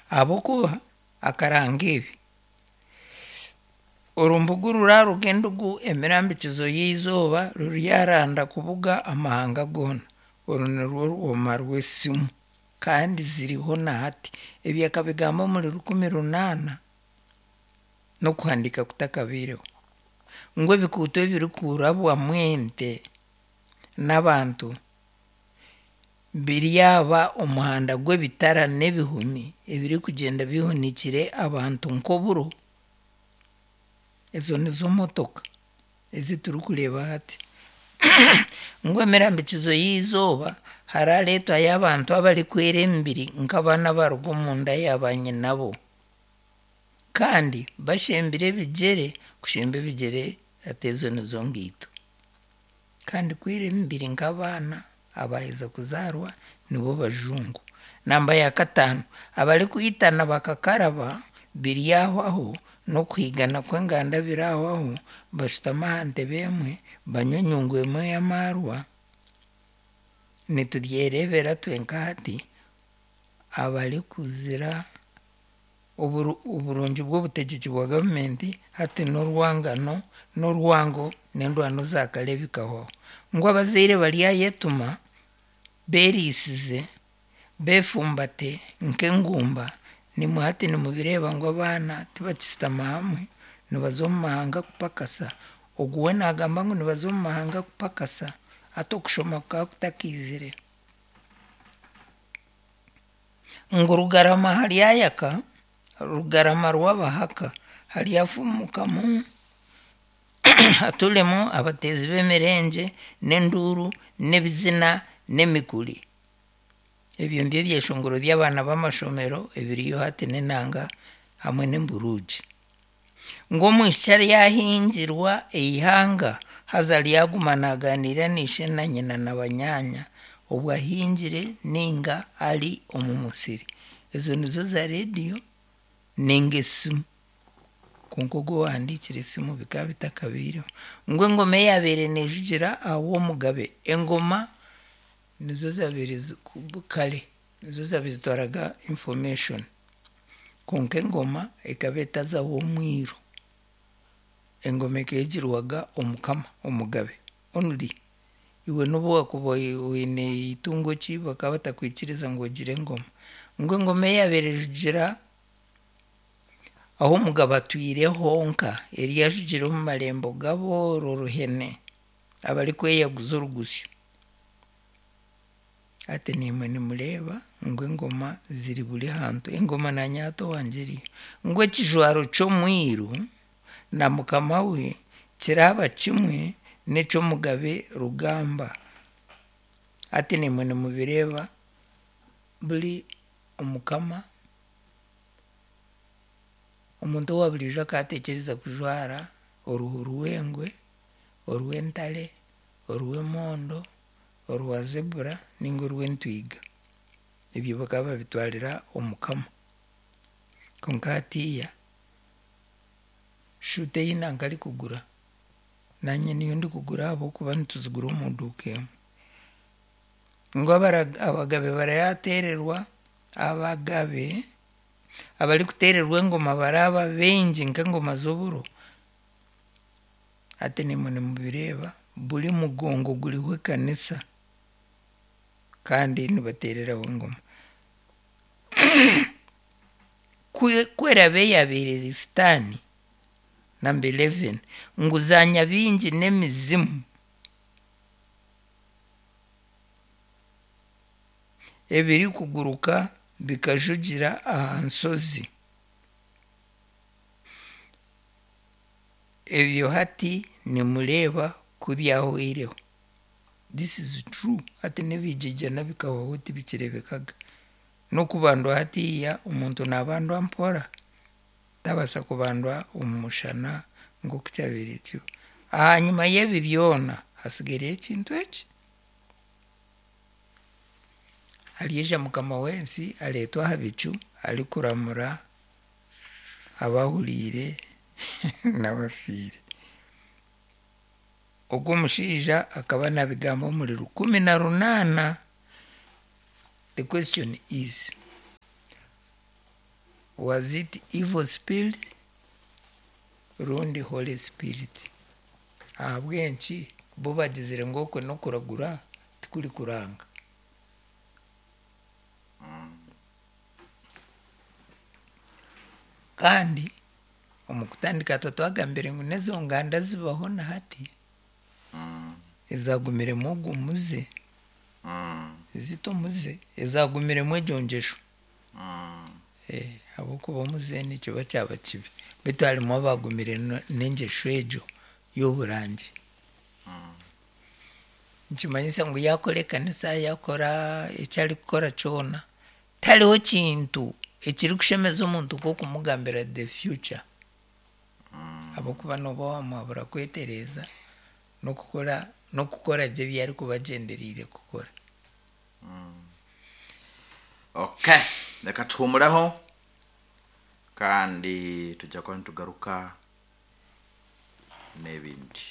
Ahabw'okuba akaranga ebi, Orumbugu ruraaruga endugu emirambikizo y'eizooba ruryaranda kubuga amahanga goona. Oru nirwo rwoma rw'esimu kandi ziriho na hati. Ebi akabigamba omuri 1800 n'okuhandiika kutakabaireho. Ngu ebikuuto ebirikurabwamu ente n'abantu biryaba omuhanda gw'ebitara n'ebihumi ebirikugyenda bihunikire abantu nk'oburo. Ezo nizo motoka ezi turikureeba hati. Ngu emirambikizo y'eizooba harareetwayo abantu abarikwera emibiri nk'abaana abaruga omunda ya baanyinabo kandi bashembire ebigyere, kushemba ebigyere hati ezo nizo ngaito. Kandi kwera emibiri nk'abaana abaaheza kuzaarwa nibo bajungu. Namba ya kataano, abarikwitana bakakaraba biryahwaho n'okuhigana kw'enganda birahwaho, bashutame aha ntebe emwe, banywe enyungu emwe y'amaarwa. Nitubyereebera twenka hati abarikuzira oburungi bw'obutegyeki bwa gavumenti hati n'orwangano n'orwango n'endwano za kare bikahwaho. Ngu abazaire baryayetuma beeriisize, beefumbate nk'engumba, nimwe hati nimubireeba ngu abaana tibakishutama hamwe, nibaza omu mahanga kupakasa. Ogu we naagamba ngu nibaza omu mahanga kupakasa hati okushoma kukaba kutakaizire. Ngu Rugarama haryayaka, Rugarama rw'Abahaka haryafumukamu haturemu abateezi b'emirengye n'enduuru n'ebizina n'emikuri. Ebyo nibyo byeshongoro by'abaana b'amashomero ebiriyo hati n'enanga hamwe n'emburuugi. Ngu omwishiki aryahingirwa eihanga haza aryaguma naagaaniira na ishe na nyina na banyaanya obwo ahingire nainga ari omu musiri. Ezo nizo zaarediyo nainga esimu. Kwonka ogwo owahandiikire esimu bikaba bitakabaireho. Ngu engoma eyaabaire neejugira aha w'omugabe, engoma nizo zaabaire kare nizo zaabaire zitwaraga information. Kwonka engoma ekaba etaza w'omwiru. Engoma ekaba egirwaga omukama, omugabe only. Iwe n'obu waakuba oine eitungo ki bakaba batakwikiriza ngu ogire engoma. Ngu engoma eyaabaire ejugira ahu omugabe atwire honka eryajugira omu marembo g'abooro ruhene abarikweyaguza orugusyo. Hati naimwe nimureeba ngu engoma ziri buri hantu. Engoma naanye hati owangye eriyo. Ngu ekijwaro ky'omwiru na mukama we kiraaba kimwe n'eky'omugabe rugamba. Hati naimwe nimubireeba buri omukama, omuntu owa buriijo akaatekyereza kujwara oruhu rw'engwe, orw'entare, orw'emondo, orwa zebura nainga orw'entwiga. Ebyo bakaba babitwarira omukama. Kwonka hatiiya shuuti ei nanka arikugura naanye niyo ndikugura ahabw'okuba nituzigura omu duuka emwe. Ngu abagabe barayateererwa, abagabe abarikuteererwa engoma baraaba baingi nk'engoma z'oburo. Hati naimwe nimubireeba buri mugongo guriho ekanisa kandi nibateereraho engoma. Ku eraabe yaabaire eri sitaani, number 11, ngu za nyabingi n'emizimu ebirikuguruka bikajugira aha nshozi. Ebyo hati nimureeba ku byahweireho. This is true. Hati n'ebigyengyena bikahwaho tibikireebekaga. N'okubandwa hatiiya omuntu naabandwa mpora, tabaasa kubandwa omu mushana nk'oku kyabaire kiba. Ahanyima y'ebi byona hatsigaireyo ekintu eki. Aryaija Mukama w'ensi areetwe aha bicu arikuramura abahuriire n'abafiire. Ogwo omushaija akaba naabigamba omuri 1800. The question is, Was it evil spirit rundi holy spirit? Ahabw'enki bo bagizire ngu okwe n'okuragura tikuri kuranga? Kandi omu kutandika twa twagambire ngu n'ezo nganda zibaho na hati ezagumiremu ogwo muze, zita omuze, ezagumiremu egyo ngyesho. Ahabw'okuba omuze nikiba kyaba kibi. Beitu harimu abaagumire n'engyesho egyo y'oburangi. Nikimanyisa ngu yaakora ekanisa, yaakora eki arikukora kyona, tihariho kintu ekirikushemeza omuntu nk'okumugambira the future. Ahabw'okuba nooba waamuhabura kwetereeza n'okukora n'okukora gye ebi arikuba agyendereire kukora. Okay, reka tuhumureho kandi tujya kuba nitugaruka n'ebindi.